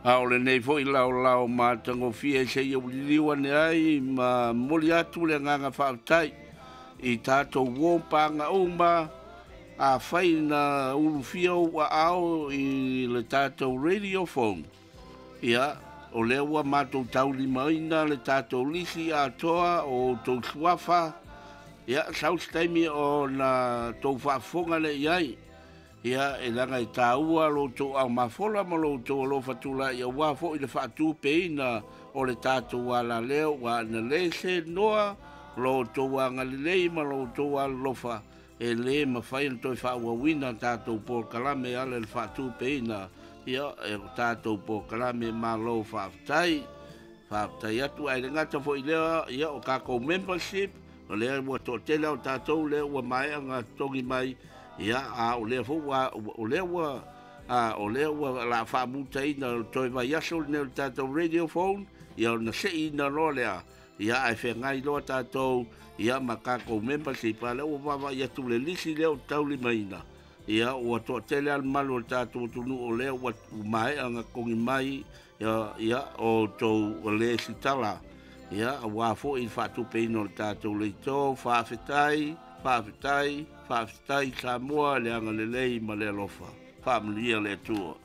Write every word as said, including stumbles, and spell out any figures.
A o lenei foi laolao matagofie seia uliliu ane ai ma momoli atu le agaga faafetai i tatou uo ma paga uma. Afai na ulufia ou aao i le tatou radio phone, ia o lea ua matou taulimaina le tatou lisi atoa o outou suafa. Ia sau se taimi ona tou faafofoga lea i ai. Ia e leaga e taua lo outou aumafola ma lo outou alofa tulai aua foi le faatupeina o le tatou alaleo, ua na le senoa lo outou agalelei ma lo outou alolofa e lē mafai ona toe faaauauina tatou polokalame e ala i le faatupeina ia e o tatou polokalame. Malo faafetai, faafetai atu. Ae le gata foi lea, ia o tatou membership o lea ua toatele o tatou lea ua maea ona totogi mai. Ia a o lea foi ua o lea ua a o lea ua la faamutaina toe vaiaso lenei o le tatou radio phone, ia ona seiina loa lea, ia ae feagai loa tatou ia ma tatou membership. A lea ua vaavaai atu le lisi lea o taulimaina, ia ua toatele a le malu o le tatou atunuu o lea ua maea ona totogi mai ia, ia o tou lesitala, ia aua foi le faatupeina o le tatou leitō. Faafetai, faafetai, faafetai Samoa le agalelei ma le alofa. Faamanuia le Atua.